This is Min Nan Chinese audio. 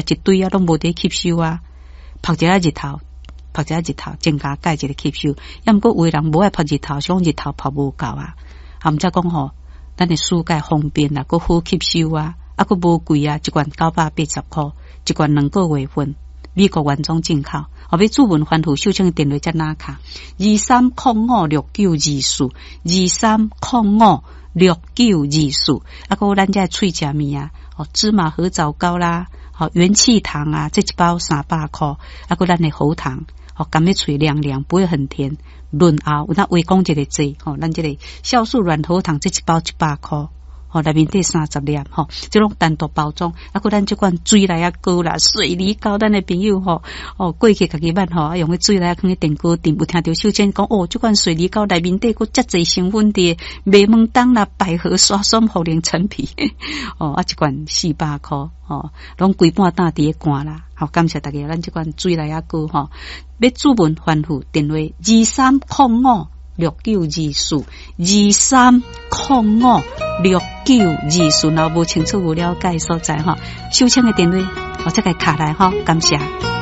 食一堆啊，攏無佇吸收啊。曝一下日頭，曝一下日頭，增加鈣質的吸收。抑毋過有的人無愛曝日頭，想講日頭曝無夠啊。啊，毋則講吼，咱的舒鈣方便啦，閣好吸收啊，啊，閣無貴啊，一罐980箍，一罐2個月份，美國原裝進口。後欲註文番予秀清的電話才拿卡，23056924，23056924。啊，閣有咱這喙食物啊，哦，芝麻核棗糕啦，吼，元氣糖啊，這一包300箍。啊，閣咱的喉糖，吼，含咧喙涼涼，不會很甜，潤喉。有哪話講一個濟，吼，咱這個酵素軟喉糖，這一包100箍。吼，內面底30粒，吼，這攏單獨包裝。啊，閣咱這款水梨仔糕啦，水梨糕，咱的朋友吼，哦，過去家己捌吼，啊，用彼水梨仔囥咧電鍋頂，有聽著秀清講，哦，這款水梨糕內面底閣遮濟成分佇，麥門冬啦、百合、沙參、茯苓、陳皮，哦，啊，一罐400箍，吼，攏規半擔佇咧罐啦。好，感謝大家，咱這款水梨仔糕吼，欲註文番予電話23056924，23056924，若無清楚無了解所在吼，秀清的電話，我再共敲來吼，感謝。